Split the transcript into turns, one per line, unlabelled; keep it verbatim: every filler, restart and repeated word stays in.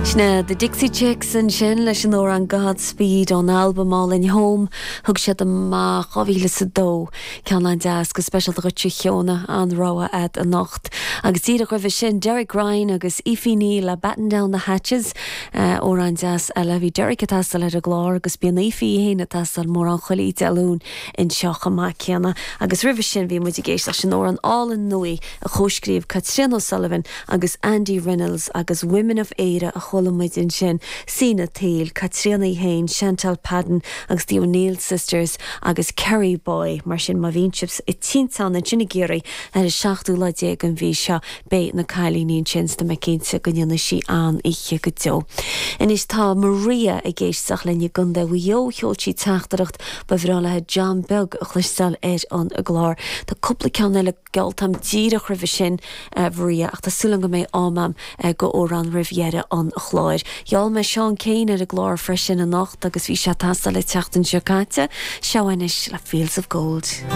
Sin The Dixie Chicks ansin leis an amhrán Godspeed ón albam álainn Home thug siad amach dhá mhíle is a dó ceann an-deas go speisialta dhuit a Shióna an rogha agat anocht. Agus díreach roimhe sin Derek Ryan agus Aoife Neal le Batten Down the Hatches amhrán deas eile bhí Derek ag taisteal ar an gclár agus bíonn Aoife féin ag taisteal mórán chuile Dé Luain anseo chomh maith céanna. Agus roimhe sin bhí muid ag éisteacht leis an amhrán álainn nua a chomhscríobh Caitríona O'Sullivan agus Andy Reynolds agus Women of Éire a chuala muid ansin Sina Tail, Caitríona féin, Chantal Padden agus the O'Neill Sisters agus Kerry Boy mar sin má bhíonn sibh i dTinteán ansin i gCiarraí ar an seachtú lá déag den mhí seo beidh na cailíní ansin tá mé cinnte go ndéanfaidh sí an-oíche go deo. Anois tá Maria ag éisteacht linn i gContae Mhaigh Eo sheol sí teachtaireacht ba bhreá léi John Beag a chloisteáil ar an gclár. Tá cúpla ceann eile geallta agam díreach roimhe sin uh, Maria ach tá súil go mbeidh am agam uh, go amhrán roimh dheireadh an chláir. Gheall mé Seán Keane ar an gclár freisin anocht agus bhí sé ag taisteal an tseachtain seo caite, seo anois le Fields of Gold.